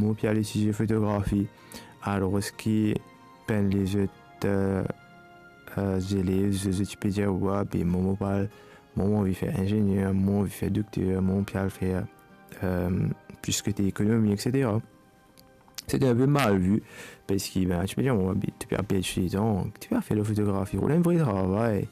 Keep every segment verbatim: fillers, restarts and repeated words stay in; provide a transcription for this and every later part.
mo pe al etidie fotografi, alor ki bann lezot, euh, euh, zelev, zot, zot ti pe dir, "Wa, be mwa, mo pa, mwa, mo anvi fer inzenier, mwa, mo anvi fer dokter, mwa, mo pe al fer, euh, plis kote ekonomi, et cetera." Sete inpe mal vi, parski, ben, ti pe dir, "Mo, be, to pe al perd so letan, to pe al fer lafotografi, rod enn vre travay."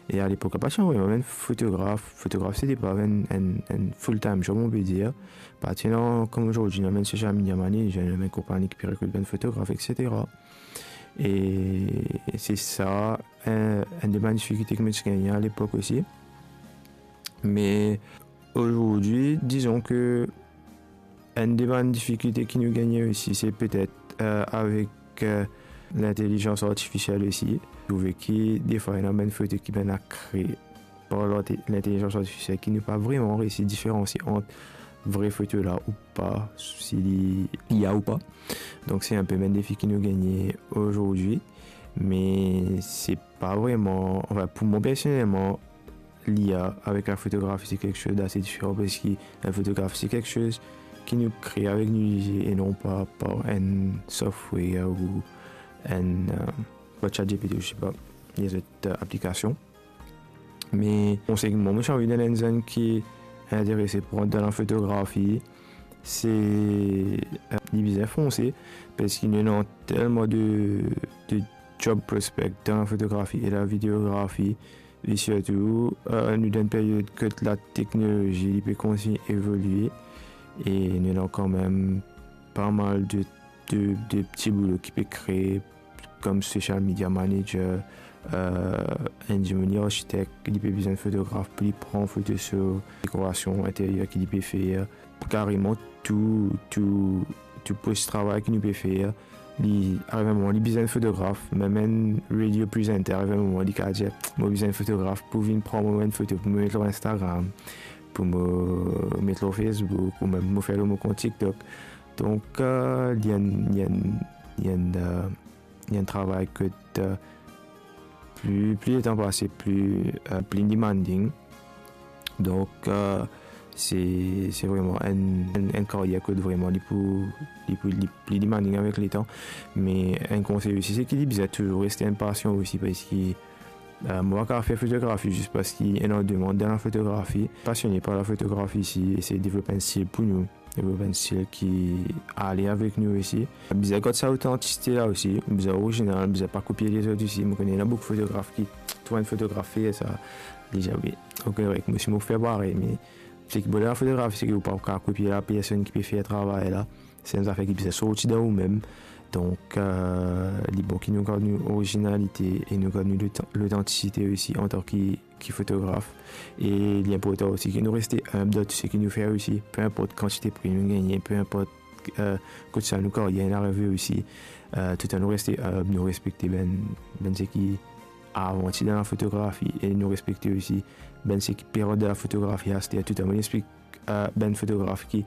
E alepok la, pa ti ena vremem enn fotograf. Fotograf, sete pa enn, enn, enn full-time job, on pe dir. Pa ti ena, kouma zordi, ena bann social media manager, ena bann konpagni ki pe rekrut bann fotograf, et cetera. E se sa, enn, enn de bann difikilte ki mo ti gagne alepok osi. Me azordi, dizon ke enn de bann difikilte ki nou gagne osi, se petet, euh, avek, euh, lintelizans artifisiel osi. Trouve ki defwa, ena bann foto ki pena kree par linte-, lintelizans artifisiel ki nou pa vreman resi diferansie ant vre foto la ou pa, si li, li a ou pa. Donk, se inpe bann defi ki nou gagne azordi, me se pa vreman, anfin, pou mwa personelman, l'I A avek lafotografi, se kiksoz dase diferan, parski lafotografi, se kiksoz ki nou kree avek nou lizie e non pa par enn software ou enn, euh, par ChatGPT, je sais pas, lezot, euh, aplikasion. Me konsey ki mwa, mo ti anvi donn enn zenn ki interese pou rant dan lafotografi, se, euh, li bizin fonse, parski nou ena telman de, de job prospect dan lafotografi e lavideografi, e sirtou, euh, nou dan enn period kot lateknolozi, li pe kontign evolie, e nou ena kanmem pa mal de, de, de pti boulo ki pe kree, kom social media manager, euh, enn dimoun li arsitek, li pe bizin fotograf pou li pran foto so dekorasion interyer ki li pe fer, kareman tou, tou, tou pos travay ki nou pe fer, li, ariv enn moman, li bizin fotograf, mem enn radio presenter, ariv enn moman, li kapav dir, "Mo bizin fotograf pou vinn pran mo enn foto, pou mo met lor Instagram, pou mo met lor Facebook, oubien mo fer lor mo kont TikTok." Donk, euh, li enn, li enn, li enn, euh, li enn travay kot, euh, pli, pli letan pase, pli, euh, pli demanding. Donk, euh, se, se vreman enn, enn, enn karyer kot vreman li pou, li pou, li pli demanding avek letan. Me enn konsey osi, se ki li bizin touzour reste inpasian osi, parski, euh, mo pa kapav fer fotografi zis parski ena demann dan lafotografi. Pasione par lafotografi isi, esey devlop enn stil pou nou, devlop enn stil ki ale avek nou osi. Bizin gard sa otantisite la osi, bizin orizinal, bizin pa kopie lezot osi. Mo kone ena boukou fotograf ki trouv enn fotograf fer sa, li dir, "Wi, ok, korek, mo osi mo fer parey," me seki bone lafotografi, seki ou pa kapav kopie lapersonn ki pe fer travay la. Se enn zafer ki bizin sorti dan oumem. Donk, euh, li bon ki nou gard nou orizinalite e nou gard nou lotan-, lotantisite osi antan ki, ki fotograf. E li inportan osi ki nou reste inb dan tou seki nou fer osi, pe inport kantite pri nou gagne, pe inport, euh, kot sa nou karyer inn arive osi. Euh, toutan nou reste inb, nou respekte bann, bann seki avan ti dan lafotografi e nou respekte osi bann seki pe rant dan lafotografi aster. Toutan mo explik, euh, bann fotograf ki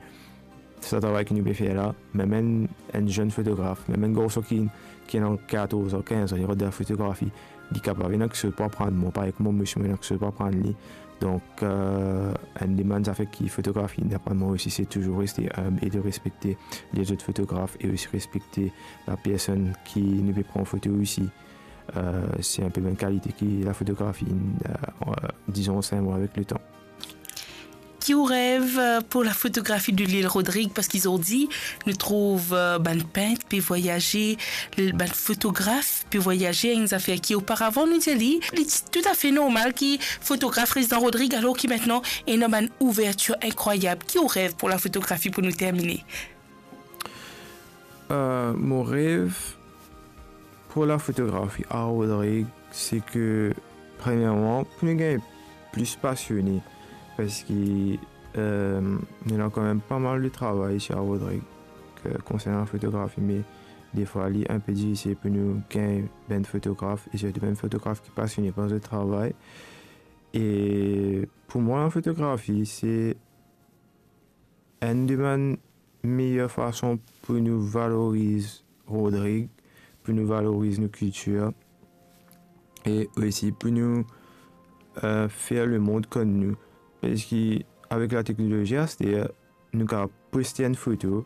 sa travay ki nou pe fer la, mem enn, enn zenn fotograf, mem enn garson ki, ki ena katorz an, kinz an, li rant dan lafotografi, li kapav ena kiksoz pou aprann mwa, parey kouma mwa osi mo ena kiksoz pou aprann li. Donk, euh, enn de bann zafer ki fotografi inn aprann mwa osi, se touzour reste inb e de respekte lezot fotograf e osi respekte lapersonn ki nou pe pran foto osi. Euh, se inpe bann kalite ki lafotografi inn, euh, euh, dizon, ansegn mwa avek letan. Ki ou rev, euh, pou lafotografi de Lil Rodrig? Parski zordi, nou trouv, euh, bann pint pe vwayaze, l-, bann fotograf pe vwayaze, enn zafer ki oparavan nou dir li, li ti toutafe normal ki fotograf res dan Rodrig, alor ki aster ena bann ouvertir inkrwayab. Ki ou rev pou lafotografi pou nou termine? Euh, mo rev pou lafotografi a Rodrig, se ke, premierman, pou nou gagn plis pasione, parski, euh, nou ena kanmem pa mal de travay isi a Rodrig, ke konsernan lafotografi, me defwa li inpe difisil pou nou gagn bann fotograf, e sirtou bann fotograf ki pasione par zot travay. E pou mwa, lafotografi, se enn de bann meyer fason pou nou valoriz Rodrig, pou nou valoriz nou kiltir, e osi pou nou, euh, fer lemond konn nou. Parski avek lateknolozi aster, nou kapav poste enn foto,